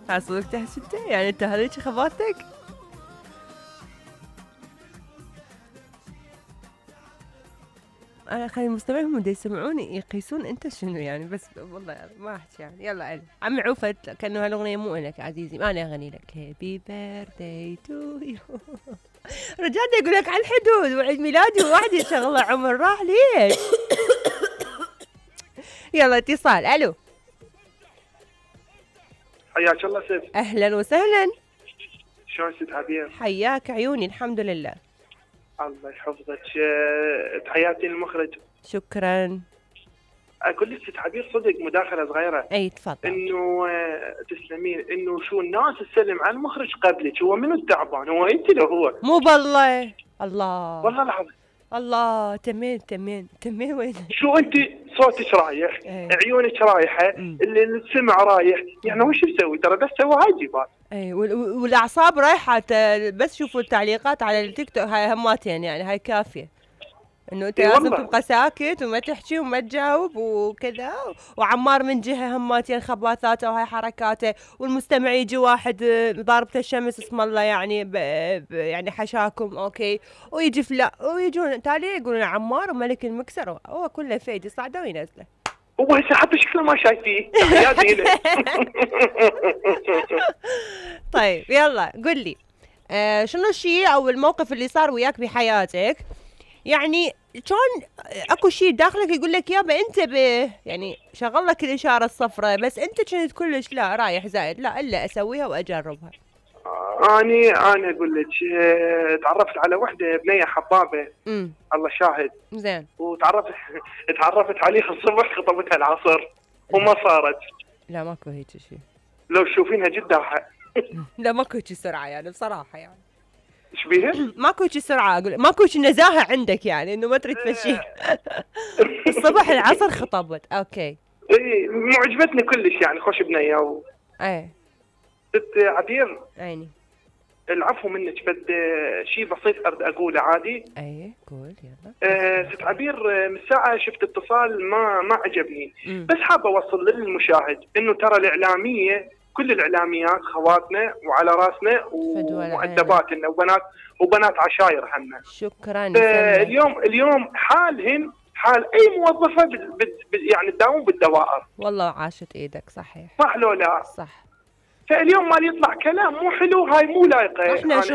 صدق تحس انت يعني انت هذيك خبرتك؟ انا خلي المستمعين هم دا يسمعوني يقيسون انت شنو يعني، بس والله ما احكي يعني. يلا علي عمي عوفت كانه هالاغنيه مو لك عزيزي، ما انا اغني لك هابي بيرثداي تو يو. رجال يقول لك على الحدود وعيد ميلادي وواحد يشغله عمر راح ليش؟ يلا اتصال. الو حياك الله ست. اهلا وسهلا. شلون ست عبير؟ حياك عيوني الحمد لله. الله يحفظك. تحياتي للمخرج. شكرا. اقول لك ست عبير صدق مداخله صغيره. اي تفضل. انه تسلمين انه شو الناس تسلم على المخرج قبلك، هو منو التعبان؟ هو انت لو هو؟ مو بالله. الله والله العظيم. الله تمين وين؟ شو انت صوتك رايح، عيونك رايحه، السمع رايح، يعني وش نسوي؟ ترى بس سوي واجبات. اي والاعصاب رايحه، بس شوفوا التعليقات على التيك توك هاي هماتين يعني، هاي كافيه انه انت لازم تبقى ساكت وما تحكي وما تجاوب وكذا. وعمار من جهه هماتين خباثاته وهاي حركاته، والمستمع يجي واحد ضاربته الشمس اسم الله يعني يعني حشاكم اوكي، ويجي فلا ويجون تالي يقولون عمار وملك المكسر، هو كله فيد يصعده وينزله. هو هسه حتى شكله ما شايفيه. تحياتي له. طيب يلا قل لي شنو الشيء او الموقف اللي صار وياك بحياتك يعني شلون اكو شيء داخلك يقول لك يابا انتبه، يعني شغل لك الاشاره الصفراء، بس انت كنت كلش لا رايح زايد لا الا اسويها واجربها. انا اقول لك تعرفت على وحده بنيه حبابه. الله شاهد. زين. تعرفت عليها الصبح، خطبتها العصر وما صارت. لا ماكو هيك شيء. لو تشوفينها جداها. لا ماكو هيك سرعه يعني بصراحه يعني. ايش بيها؟ ماكو هيك سرعه اقول، ماكو هيك نزاهه عندك يعني انه ما تريد تمشي. الصبح العصر خطبت اوكي. اي معجبتني كلش يعني، خوش بنيه اي ست عبير. عيني. العفو منك، بد شيء بسيط اريد اقوله عادي. اي قول يلا. ست عبير من ساعه شفت اتصال ما عجبني. بس حابه اوصل للمشاهد انه ترى الاعلاميه كل الاعلاميات خواتنا وعلى راسنا ومؤدباتنا وبنات عشاير هنا. شكرا. اليوم حالهن حال اي موظفه يعني تداوم بالدوائر. والله عاشت ايدك صحيح. صح لو لا؟ صح. فاليوم ما يطلع كلام مو حلو، هاي مو لايقه. احنا